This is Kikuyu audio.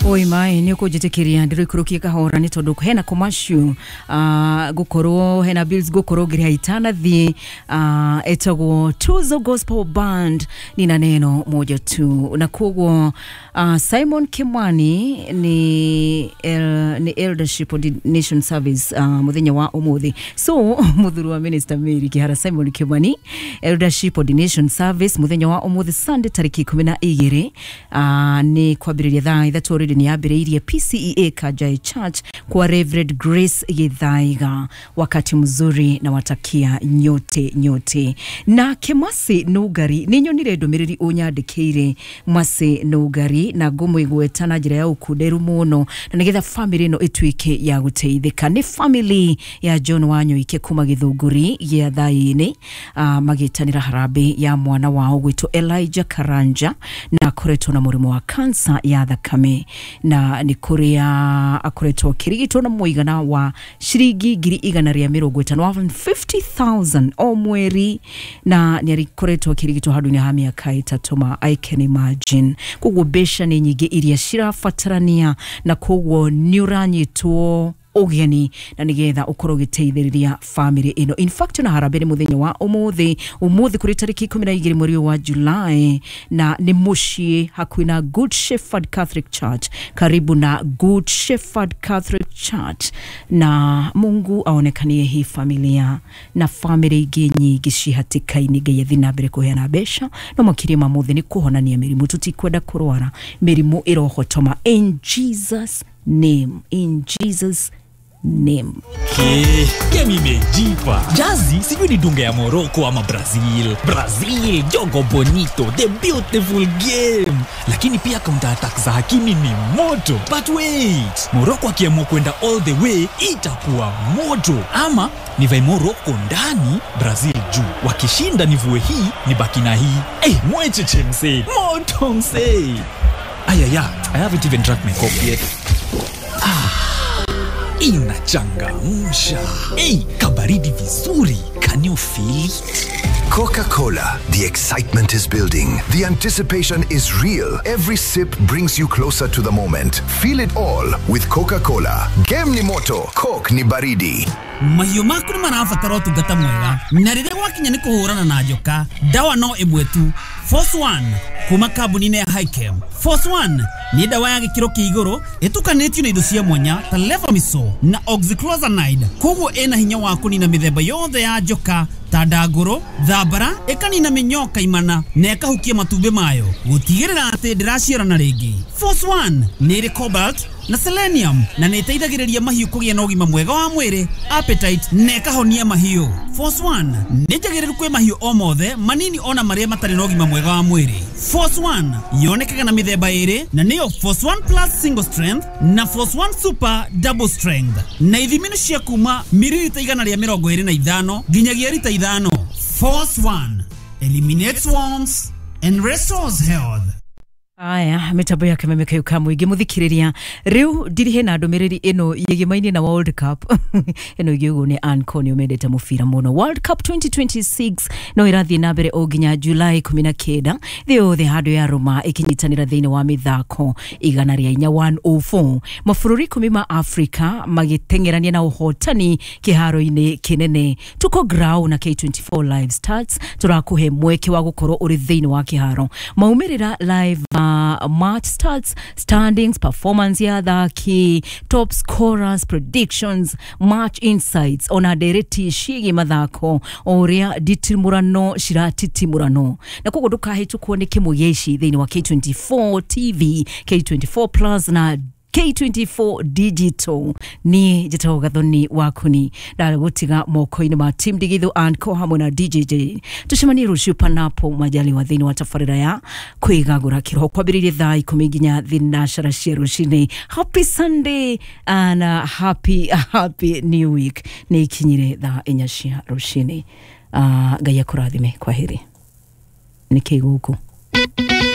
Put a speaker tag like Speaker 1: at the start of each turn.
Speaker 1: Oi mai nä å kå njä tä kä ria ndä rå ikå rå kie kahora nä tondå hena commercial gukorwo hena bills gukorwo ngä rä ha itanathiä etagwo Tuzo Gospel Band nina neno moja tu na koguo Simon Kimani ni eldership ordination service muthenya wa umuthi. So muthuri wa Minister Mary Kihara Simon Kimani eldership ordination service muthenya wa umuthi Sunday tariki 12 ni kwambiriria thaa 3 already ni yambiriirie PCEA Kajai Church kwa Reverend Grace Githaiga. Wakati mzuri na watakia nyote nyote. Na Kimasi Nugari ni nyonire ndumiriri unyandikire Mwasi Nugari na ngumwigweta na njira ya ukunderu muno na nigetha family no ituike ya guteithika. Ni family ya John Wanyoike kuma Githunguri ya thaini magitanira harambee ya mwana wao gwitwo Elijah Karanja na akoretwo na murimu wa kansa ya thakame na ni kuria akoretwo akirigitwo na muigana wa ciringi 150,000 150,000 o mweri na ni arikoretwo akirigitwo handu-inĩ ha miaka 3 ma I can imagine. Koguo mbeca nĩ nyingĩ iria cirabatarania na koguo nĩ ũranyitwo ũgeni na nigetha ukorwo ũgĩteithĩrĩria family ĩno. In fact na harambee nĩ mũthenya wa ũmũthĩ kũrĩ tarĩki 12 mweri wa July na nĩ mũciĩ hakuhĩ na Good Shepherd Catholic Church, karibu na Good Shepherd Catholic Church, na Mungu aonekanie hii familia na family ingĩ nyingĩ cihatĩka-inĩ. Ngai athiĩ na mbere kũheana mbeca no makĩria ma mothe nĩ kũhonania mĩrimũ. Tũtikwenda kũrwara mĩrimũ ĩrohotoma in Jesus name, in Jesus name.
Speaker 2: Okay, game imejipa. Jazi sijui ni dunga ya Morocco ama Brazil. Brazil, jogo bonito, the beautiful game. Lakini pia counter attack za Hakimi ni moto. But wait, Morocco akiamua kwenda all the way itakuwa moto. Ama nivae Morocco ndani, Brazil juu. Wakishinda nivue hii, nibaki na hii. Eh, mwecheche msee. Moto msee. Ayaya, I haven't even drank my coffee yet. Inachangamsha. Hey, kabaridi vizuri. Can you feel it?
Speaker 3: Coca-Cola. The excitement is building. The anticipation is real. Every sip brings you closer to the moment. Feel it all with Coca-Cola. Game ni moto, Coke ni baridi.
Speaker 4: Mahiũ maku nĩ marabatara ũtungata mwega na rĩrĩa gwakinya nĩ kũhũrana na njoka ndawa no ĩmwe tu, Force One kuma kambuni-inĩ ya Hikem. Force One nĩ ndawa ya gĩkĩro kĩa igũrũ ĩtukanĩtio na indo cia mwanya ta Levamisole na Oxyclozanide, koguo ĩna hinya wa kũnina mĩthemba yothe ya njoka ta ndangũrũ, thambara, ĩkanina mĩnyoo kaimana na ĩkahukia matumbĩ mayo gũtigĩrĩra atĩ ndĩraciarana rĩngĩ. Force One nĩ ĩrĩ cobalt na selenium na nĩ ĩteithagĩrĩria mahiũ kũgĩa na ũgima mwega wa mwĩrĩ, appetite na ĩkahonia mahiũ. Force One nĩ njagĩrĩru kwĩ mahiũ o mothe manini ona marĩa matarĩ na ũgima mwega wa mwĩrĩ. Force One yonekaga na mĩthemba ĩrĩ na nĩyo Force One Plus Single Strength na Force One Super Double Strength na ithimi nĩ cia kuma mililita 125 nginyagia rita 5. Force One eliminates worms and restores health.
Speaker 1: Aya, mitambo ya kameme kayo ka mũingĩ mũthikĩrĩria rĩu ndirihe na ndũmĩrĩri ĩno yĩgĩmaine na World Cup ĩno ĩngĩ nĩ Ann mendete mũbira mũno. World Cup 2026 no ĩrathiĩ na mbere o nginya July 19 thĩ yothe handũ ya Roma ĩkĩnyitanĩra thĩinĩ wa mĩthako 104 104 mabũrũri 10 ma Afrika magĩteng'erania na ũhotani kĩharo-inĩ kĩnene. Tuko grau na K24 live starts tũrakũhe mweke wa gũkorwo ũrĩ thĩinĩ wa kĩharo maumĩrĩra live match starts, standings, performance ya athaki, top scorers, predictions, match insights ona ndereti ciĩgiĩ mathako o ũrĩa nditimũrano ciratitimũrano na koguo ndũkahĩtũkwo nĩ kĩmwe gĩa ici thĩinĩ wa K24 TV, K24 Plus na K24 Digital. Niĩ njĩtagwo Gathoni Wakuni ndagũtiga moko-inĩ ma Team Digitho and Co hamwe na DJJ. Tũcemanie rũciũ panapo majaliwa thĩinĩ wa tabarĩra ya kwĩgagũra kĩroho kwambĩrĩria thaa 10 nginya thinacara cia rũcinĩ. Happy Sunday and happy happy new week. Nĩ ikinyire thaa 4 cia rũcinĩ. Ngai akũrathime. Kwaheri. Nĩ kĩ gũkũ?